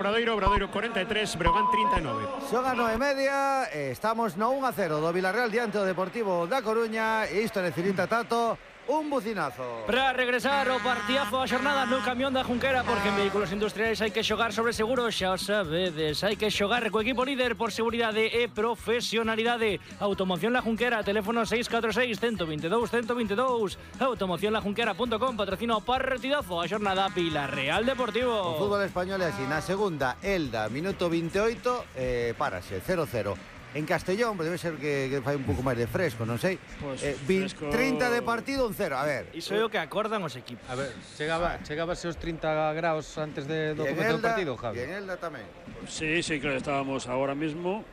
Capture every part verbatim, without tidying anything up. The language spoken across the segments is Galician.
Obradoiro, Obradoiro cuarenta y tres, Breogán treinta y nueve. Son as nove e media, estamos no uno a cero do Villarreal diante do Deportivo da Coruña e isto necesita Tato un bucinazo. Para regresar o partidazo a xornada no camión da Junquera, porque en vehículos industriais hai que xogar sobre seguro, xa o sabedes, hai que xogar co equipo líder por seguridade e profesionalidade. Automoción La Junquera, teléfono seis catro seis, uno dos dous, uno dos dous. automoción la junquera punto com, patrocina o partidazo a xornada Villarreal Deportivo. O fútbol español é así, na segunda, Elda, minuto veintiocho, eh, párase, cero cero. En Castellón, debe ser que, que fai un pouco máis de fresco, non sei. Pues eh, fresco... trinta de partido, un cero, a ver. Iso é o que acordan os equipos. A ver, chegaba, chegábase os trinta graus antes de, do comezo do partido, Javi. E en Elda tamén. Sí, sí, claro, estábamos ahora mismo.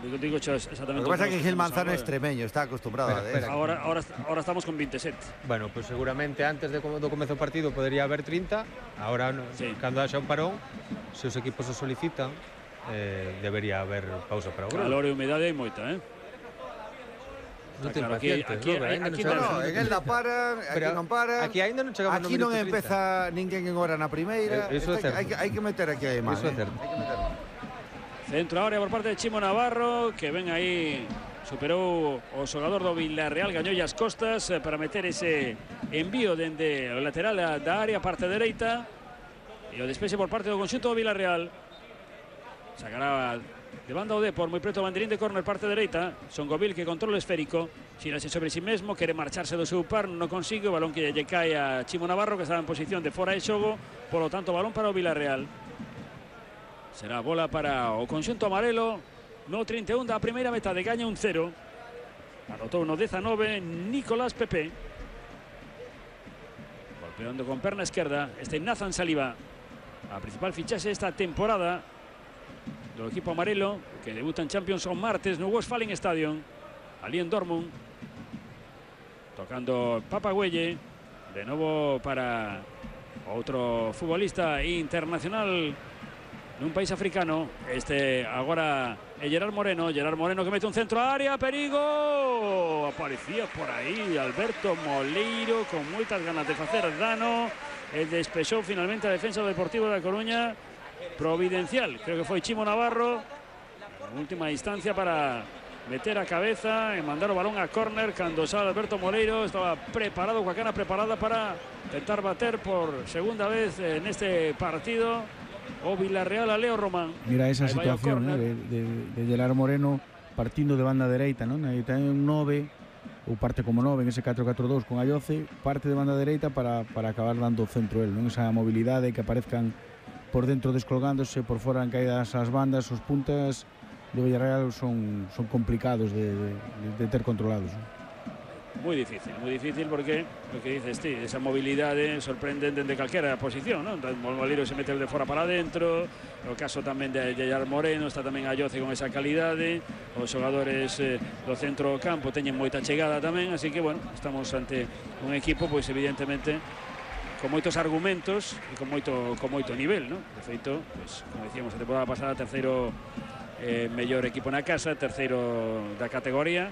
Digo, digo exactamente. Lo que pasa é que Gil Manzano é extremeño, está acostumbrado Espera, a espera. eso. Ahora, ahora, ahora estamos con veintisiete. Bueno, pues seguramente antes de, do comezo do partido podería haber trinta. Ahora, no, Sí. cando haxa un parón, se os equipos o solicitan, eh, debería haber pausa para o grau. Calor e humedade hai moita, eh? Non ten claro, aquí- pacientes, aquí- Robert, ainda non aquí No, chegamos no, ao en minuto Elda trinta. paran, aquí Pero non paran. aquí ainda non chegamos no Aquí non minuto trinta. empeza ninguén en hora na primeira. Eh, iso é Isto certo. hai, que- hai que meter aquí a imagen. Iso é certo. Hai que meter. Centro área por parte de Chimo Navarro, que ven aí, superou o xogador do Villarreal, gañou as costas eh, para meter ese envío dende o lateral da área, parte dereita, e o despexe por parte do conxunto do Villarreal. Sacará de banda o Depor, moi preto o banderín de córner, parte dereita. Songovil que controla o esférico, xírase sobre si mesmo, quere marcharse do seu par, non consigue, o balón que lle cae a Chimo Navarro, que estaba en posición de fora de xogo, polo tanto balón para o Villarreal. Será bola para o conxunto amarelo no trinta e un da primeira metade, gaña un cero. Anotou no dezanove Nicolás Pepe. Golpeando con perna esquerda este Nathan Saliba, a principal fichaxe esta temporada do equipo amarelo, que debuta en Champions o martes no Westfalen Stadium, ali en Dortmund. Tocando Papagüelle, de novo para outro futbolista internacional nun país africano. Este agora é Gerard Moreno, Gerard Moreno que mete un centro á área, perigo. Aparecía por aí Alberto Moleiro con moitas ganas de facer dano, e despexou finalmente a defensa do Deportivo da Coruña. Providencial, creo que foi Chimo Navarro en última instancia para meter a cabeza e mandar o balón a córner cando sale Alberto Moleiro. Estaba preparado, coa cana preparada para tentar bater por segunda vez en este partido o Villarreal a Leo Román. Mira esa Aí vai o situación, córner. eh, de, de, de Gerard Moreno partindo de banda dereita, non? Aí ten un nove, ou parte como nove en ese catro catro dous con Ayoce, parte de banda dereita para, para acabar dando o centro el, non? Esa mobilidade, que aparezcan por dentro descolgándose, por fora en caídas as bandas, os puntas do Villarreal son, son complicados de, de, de ter controlados, non? Moi difícil, moi difícil porque o que dices ti, esa mobilidade sorprende dende calquera posición, non? O Moleiro se mete de fora para adentro, o caso tamén de Gerard Moreno, está tamén Ayoce con esa calidade, os xogadores eh, do centro campo teñen moita chegada tamén, así que, bueno, estamos ante un equipo, pois evidentemente con moitos argumentos e con moito, con moito nivel, non? De feito, pois, como decíamos a temporada pasada, terceiro eh, mellor equipo na casa, terceiro da categoría.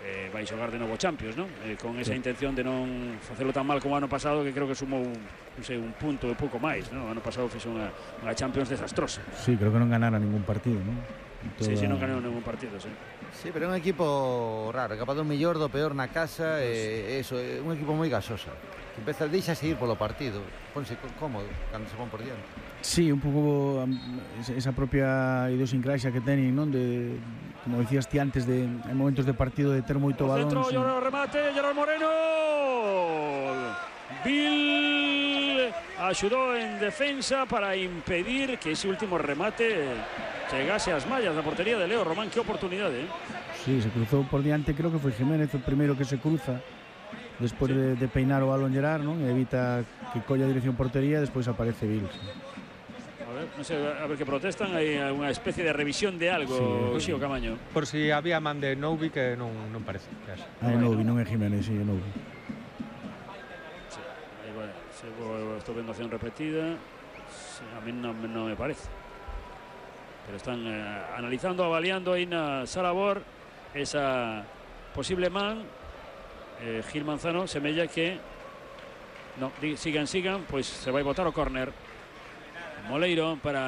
Eh, vai xogar de novo Champions, non? Eh, con esa intención de non facelo tan mal como o ano pasado, que creo que sumou un, non sei, un punto e pouco máis, non? O ano pasado fixo unha, unha Champions desastrosa. Sí, creo que non ganara ningún partido, non? Toda... Sí, sí, non ganou ningún partido, sí. Sí, pero é un equipo raro, capaz do mellor, do peor na casa, e eso, é un equipo moi gasosa. Que empeza, deixase ir polo partido, ponse cómodo cando se pon por diante. Sí, un pouco um, esa propia idiosincrasia que teñen, non? De, como decías ti antes, de en momentos de partido de ter moito O balón. centro, sin... Lloró, remate, Gerard Moreno. Bill axudou en defensa para impedir que ese último remate chegase ás mallas da portería de Leo Román. Que oportunidade, eh? Sí, se cruzou por diante, creo que foi Jiménez o primeiro que se cruza despois Sí. de, de peinar o balón Gerard, non? E evita que colla a dirección portería, despois aparece Bill. Sí. A ver, non sei, a ver que protestan, hai unha especie de revisión de algo, Sí. Xío Camaño. Por si había man de Noubi, que non, non parece que haxa. Ah, é Noubi, non é Jiménez, sí, é Noubi. Sí, aí vai, se vou, estou vendo acción repetida, sí, a mí non, non me parece. Pero están eh, analizando, avaliando aí na sala Bor esa posible man. eh, Gil Manzano semella que no, sigan, sigan, pois se vai botar o córner. Moleiro para